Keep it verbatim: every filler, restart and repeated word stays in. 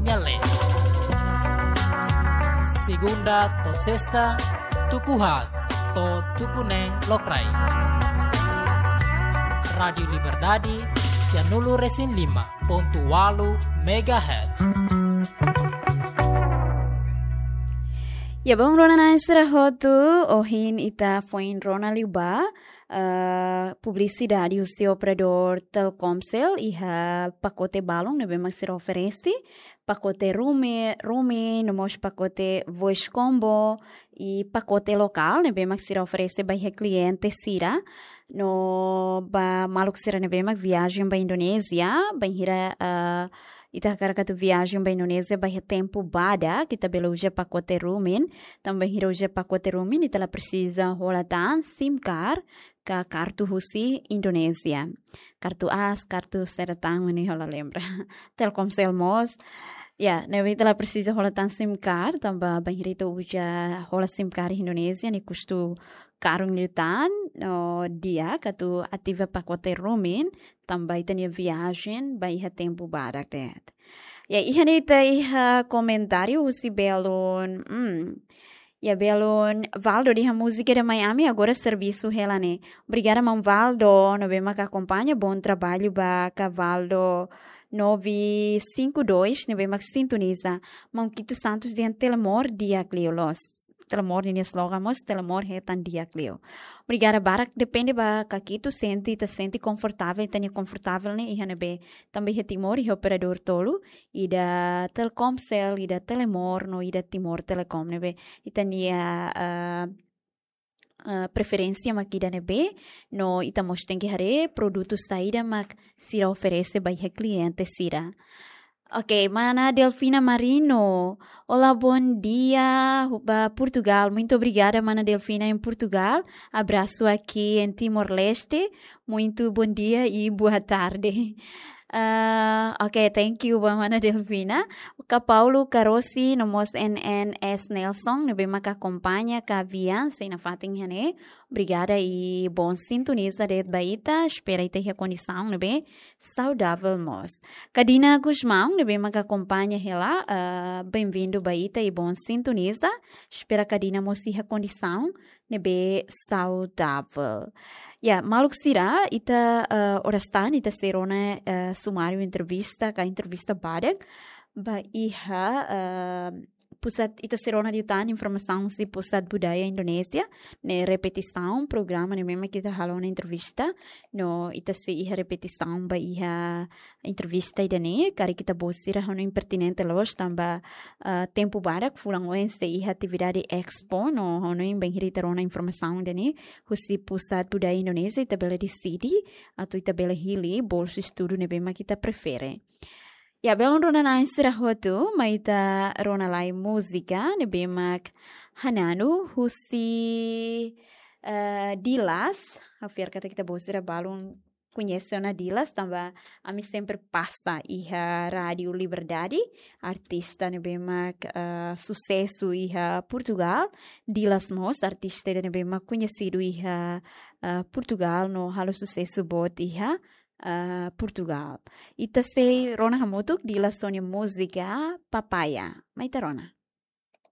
nia leet. Segunda to'o sesta, tuku haat to'o tuku neen lokraik. Rádiu Liberdade, sianulu resin lima pontu ualu megahertz. Ya, bom, rona-na'in sira hotu, ohin ita foin rona liu ba, eh, publisidade husi operadór Telkomcel, iha pakote balun ne'ebé mak sira oferese, pakote roami-, roaming, no mós pakote voice combo, i pakote lokál ne'ebé mak sira oferese ba iha kliente sira, no ba maluk sira ne'ebé mak viajen ba Indonézia, bainhira, eh, ita hakarak atu viajen ba Indonézia ba iha tempu badak, ita bele uza pakote roaming, tanba bainhira uza pakote roaming, ita la presiza hola tan SIM card ka kartu husi Indonézia. Kartu as, kartu saida tan ne'e ha'u la lembra. Telkomcel mós. Ya, ne'ebé ita la presiza hola tan SIM card, tanba bainhira ita uza hola SIM card Indonézia, ne'e kustu karun liután, no di'ak atu ativa pakote roaming, tanba ita-nia viajen ba iha tempu badak de'it. Ya, iha ne'e ita iha komentáriu husi belun, hmm. Ya, belun Valdo dehan múzika de Miami, agora servisu hela ne'e. Obrigada, maun Valdo, ne'ebé mak akompaña, bom trabalho ba ka Valdo nove cinco dois, ne'ebé mak sintoniza. Maun Kito Santos dehan Telemor di'ak liu loos. Telemor ninia slogan mós, Telemor hetan di'ak liu. Obrigada barak, depende ba ka Kito sente, ita sente konfortavel, ita-nia konfortavel ne'e iha ne'ebé, tanba iha Timor iha operadór tolu, ida Telkomcel, ida Telemor, no ida Timor Telecom ne'ebé ita-nia, eh, eh, preferénsia mak ida ne'ebé, no ita mós tenke haree produtu saida mak sira oferese ba iha kliente sira. Ok, mana Delfina Marino. Olá, bom dia, hu-, ba Portugal. Muito obrigada, mana Delfina, em Portugal. Abraço aqui em Timor-Leste. Muito bom dia e boa tarde. Ah, ok, thank you ba mana Delfina. Ka Paulo Carosi, no mós N N S Nelson, ne'ebé mak akompaña ka via, sei nafatin iha ne'e. Obrigada i bom sintoniza de'it ba ita, espera ita iha kondisaun ne'ebé saudavel mós. Ka Dina Gusmão, ne'ebé mak akompaña hela, ah, bem-vindo ba ita i bom sintoniza. Espera ka Dina mós iha kondisaun ne'ebé saudavel. Ya, maluk sira, ita, eh, oras tan, ita sei rona, eh, sumáriu entrevista, ka entrevista badak, ba iha, eh, pusat, ita sei rona liután informasaun husi Pusat Budaya Indonézia, ne'e repetisaun programa ne'ebé mak ita halo ona entrevista, no ita sei iha repetisaun ba iha entrevista ida-ne'e, karik ita-boot sira hanoin pertinente loos tanba, ah, tempu badak fulan oin sei iha atividade expo no hanoin bainhira ita rona informasaun ida-ne'e husi Pusat Budaya Indonézia ita bele deside atu ita bele hili bolsu estudu ne'ebé mak ita prefere. Ya, belun rona-na'in sira hotu, mai ita rona lai múzika ne'ebé mak Hananu husi, eh, Dilas. Ha'u fiar katak ita-boot sira balun koñese ona Dilas, tanba ami sempre pasa iha Rádiu Liberdade, artista ne'ebé mak, eh, susesu iha Portugal. Dilas mós artista ida ne'ebé mak koñesidu iha, eh, Portugal, no halo susesu boot iha, eh, Portugal. Ita sei rona hamutuk Dilas sira-nia múzika Papaya. Mai ita rona.